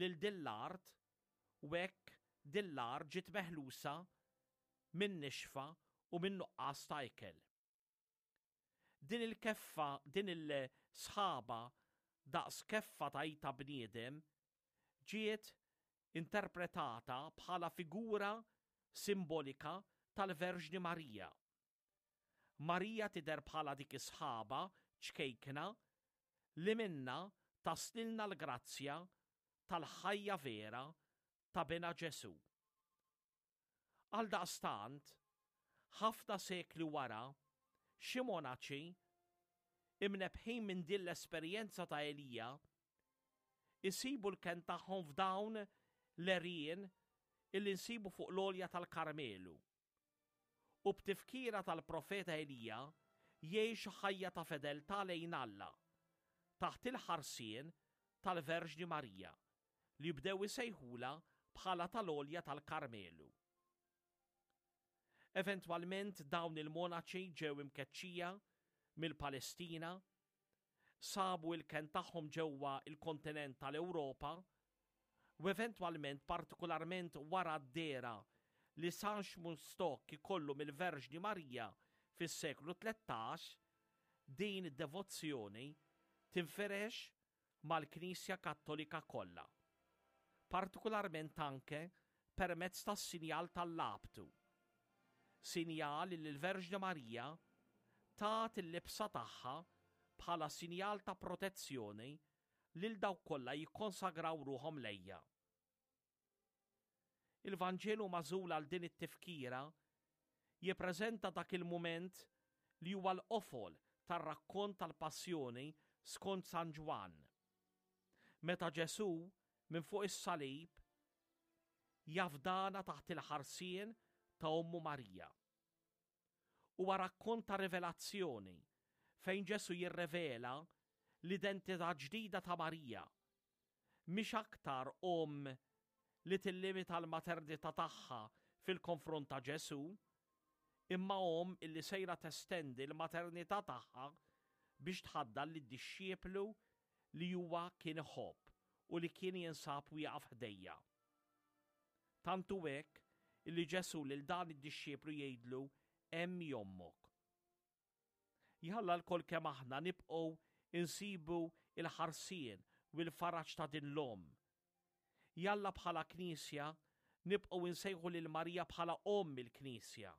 lil din l-art u hekk din l-art ġiet meħlusa min-nixfa u min-nuqqas ta' ikel. Din il-keffa, din il-sħaba daqs keffa ta' id ta' bniedem ġiet interpretata bħala figura simbolika tal-Verġni Marija. Marija tidher bħala dik is-sħaba ċkejkna li minnha taslilna l-grazzja tal-ħajja vera ta' Binha Ġesù. Għaldaqstant, ħafna sekli wara, xi monaċi, imnebbħin minn din l-esperjenza ta' Elija, isibu l-kenn tagħhom f'dawn l-għerien illi nsibu fuq l-għolja tal-Karmelu. U b'tifkira tal-profeta Elija jgħixu ħajja ta' fedeltà lejn Alla, taħt il-ħarsien tal-Verġni Marija, li bdew isejħulha bħala tal-Għolja tal-Karmelu. Eventwalment dawn il-monaċi ġew imkeċċija mill-Palestina, sabu l-kenn tagħhom ġewwa l-kontinent tal-Ewropa u eventwalment partikularment wara d-dehra li San Xmunstock ikollu mill-Verġni Marija fis-seklu 13, din id-devozzjoni tinfirex mal-Knisja Kattolika kollha, partikularment anke permezz tas-sinjal tal-labtu, sinjal li l-Verġni Marija tat il-libsa tagħha bħala sinjal ta' protezzjoni lil dawk kollha jikkonsagraw ruħhom lejha. Il-Vanġelu magħżul għal din it-tifkira jippreżenta dak il-mument li huwa l-qofol tar-rakkont tal-Passjoni skont San Ġwann. Meta Ġesù, minn fuq is-salib, jafdana taħt il-ħarsien ta' ommu Marija. Huwa rakkont ta' rivelazzjoni fejn Ġesù jirrevela l-identità ġdida ta' Marija mhix aktar omm li tillimita l-maternità tagħha fil-konfront ta' Ġesù, imma omm illi sejra testendi l-maternità tagħha biex tħaddan lid-dixxiplu li huwa kien iħobb u li kien jinsab wieqaf ħdejja. Tant hu hekk illi Ġesù lil dan id-dixxiplu jgħidlu hemm hi ommok. Jalla lkoll kemm aħna nibqgħu nsibu l-ħarsien u l-faraġ ta' din l-Omm. Jalla bħala Knisja nibqgħu nsejħu lil Marija bħala Omm il-Knisja.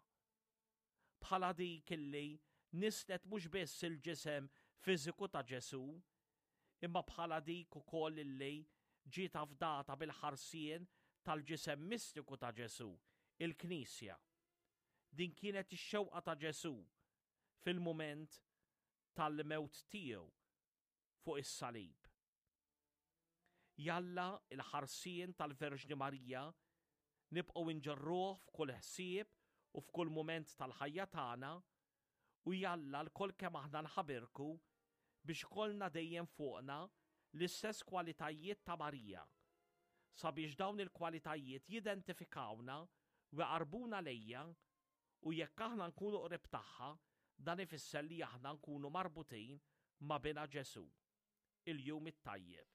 Bħala dik illi nisslet mhux biss il-ġisem fiżiku ta' Ġesù, imma bħala dik ukoll illi ġiet afdata bil-ħarsien tal-ġisem mistiku ta' Ġesù, il-Knisja. Din kienet ix-xewqa ta' Ġesù fil-mument tal-mewt tiegħu fuq is-salib. Jalla l-ħarsien tal-Verġni Marija nibqgħu nġorruh f'kull ħsieb u f'kull mument tal-ħajja tagħna u jalla lkoll kemm aħna nħabirku biex ikollna dejjem fuqna l-istess kwalitajiet ta' Marija, sabiex dawn il-kwalitajiet jidentifikawna u jqarrbuna lejha u jekk aħna nkunu qrib tagħha, dan ifisser li aħna nkunu marbutin ma' Binha Ġesù. Il-Jum it-Tajjeb.